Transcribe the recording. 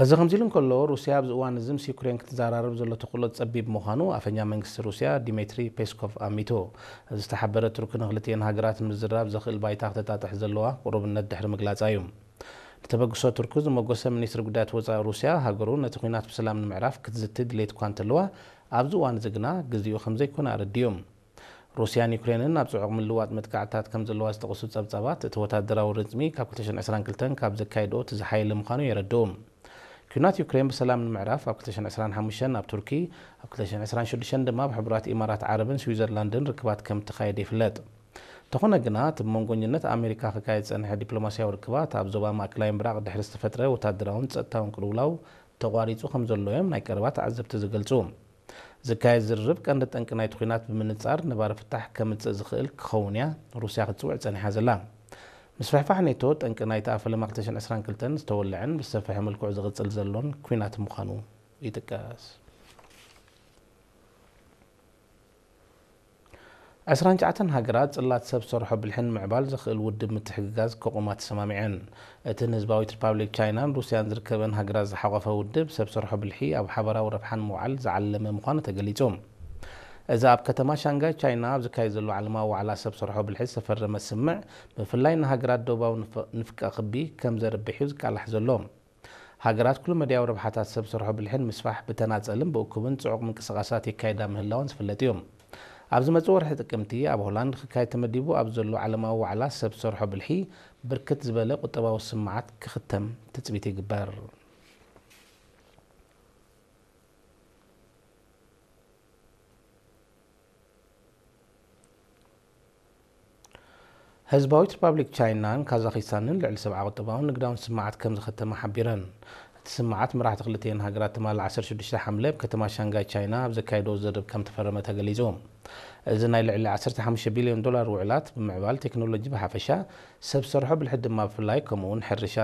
እዚ ከምዚ ኢሉ እንከሎ፣ ሩስያ ኣብዚ እዋን እዚ ምስ ዩክሬን ክትዘራረብ ዘሎ ተኽእሎ ጸቢብ ምዃኑ ኣፈኛ መንግስቲ ሩስያ ዲሜትሪ ፔስኮቭ ኣሚቱ። ዝተሓበረ ቱርኪ ንክልቲኤን ሃገራት ምዝራብ ዘኽእል ባይታ ክተጣጥሕ ዘለዋ ቅሩብነት ድሕሪ ምግላጻ እዩ። ንተበግሶ ቱርኪ ዝመጎሰ ሚኒስትሪ ጉዳያት ወጻኢ ሩስያ፣ ሃገሩ ነቲ ኲናት ብሰላም ንምዕራፍ ክትዝቲ ድሌት እኳ እንተለዋ፣ ኣብዚ እዋን እዚ ግና ግዜኡ ከም ዘይኮነ ኣረዲኡ። ሩስያን ዩክሬንን ኣብ ጽዑቕ ምልውዋጥ መጥቃዕትታት ከም ዘለዋ ዝጠቕሱ ጸብጻባት፣ እቲ ወታደራዊ ርዝሚ ካብ ክልተ ሽሕን ዕስራን ክልተን ካብ ዘካየድኦ እቲ ዝሓየለ ምዃኑ የረድኡ። ኲናት ዩክሬን ብሰላም ንምዕራፍ ኣብ ክልተ ሽሕን ዕስራን ሓሙሽተን ኣብ ቱርኪ፣ ኣብ ክልተ ሽሕን ዕስራን ሽዱሽተን ድማ ኣብ ሕቡራት ኢማራት ዓረብን ስዊዘርላንድን ርክባት ከም እተኻየደ ይፍለጥ። እንተኾነ ግና፣ እቲ ብመንጎኝነት ኣሜሪካ ክካየድ ዝጸንሐ ዲፕሎማስያዊ ርክባት ኣብ ዞባ ማእከላይ ምብራቕ ድሕሪ ዝተፈጥረ ወታደራውን ጸጥታውን ቅልውላው ተቋሪጹ ከም ዘሎ እዮም ናይ ቀረባ ተዓዘብቲ ዝገልጹ። ዝካየድ ዝርርብ ቀንዲ ጠንቂ ናይቲ ኲናት ብምንጻር ነባሪ ፍታሕ ከምጽእ ዝኽእል ክኸውን እያ ሩስያ ክትጽውዕ ጸኒሓ ዘላ። ምስፍሕፋሕ ኔቶ ጠንቂ ናይቲ ኣብ ፈለማ ክልተ ሽሕን ዕስራን ክልተን ዝተወልዐን ብዝሰፍሐ መልክዑ ዝቕጽል ዘሎን ኲናት ምዃኑ ይጥቀስ። ዕስራን ትሽዓተን ሃገራት ጽላት ሰብ ሰርሖ ብልሒ ንምዕባል ዘኽእል ውድብ ምትሕግጋዝ ከቑማ ተሰማሚዐን። እቲ ንህዝባዊት ሪፓብሊክ ቻይናን ሩስያን ዝርከበን ሃገራት ዝሓቖፈ ውድብ፣ ሰብ ሰርሖ ብልሒ ኣብ ሓባራዊ ረብሓ ንምውዓል ዝዓለመ ምዃኑ ተገሊጹ። እዚ ኣብ ከተማ ሻንጋይ ቻይና ኣብ ዝካየድ ዘሎ ዓለማዊ ዋዕላ ሰብ ሰርሖ ብልሒ ዝተፈረመ ስምምዕ፣ ብፍላይ ንሃገራት ደቡባዊ ንፍ-፣ ንፍቀ ክቢ ከም ዘርብሕ እዩ ዝቃላሕ ዘሎ። ሃገራት ኩሉ መዳያዊ ረብሓታት ሰብ ሰርሖ ብልሒ ንምስፋሕ ብተናጸልን ብእኩብን ጽዑቕ ምንቅስቓሳት የካይዳ ምህላወን ዝፍለጥ እዩ። ኣብ ዝመጽእ ወርሒ ጥቅምቲ ኣብ ሆላንድ ክካየድ ተመዲቡ ኣብ ዘሎ ዓለማዊ ዋዕላ ሰብ ሰርሖ ብልሒ፣ ብርክት ዝበለ ቁጠባዊ ስምዓት ክኽተም ትጽቢት ይግበር። ህዝባዊት ሪፓብሊክ ቻይናን ካዛኺስታንን ልዕሊ ሰብዓ ቁጠባውን ንግዳውን ስምዓት ከም ዝኸተማ ሓቢረን። እቲ ስምዓት መራሕቲ ክልቲኤን ሃገራት ትማሊ ዓሰርተ ሽዱሽተ ሓምለ ኣብ ከተማ ሻንጋይ ቻይና ኣብ ዘካየድዎ ዝርርብ ከም ተፈረመ ተገሊጹ። እዚ ናይ ልዕሊ ዓሰርተ ሓሙሽተ ቢልዮን ዶላር ውዕላት፣ ብምዕባል ቴክኖሎጂ ብሓፈሻ፣ ሰብ ሰርሖ ብልሒ ድማ ብፍላይ፣ ከምኡ'ውን ሕርሻ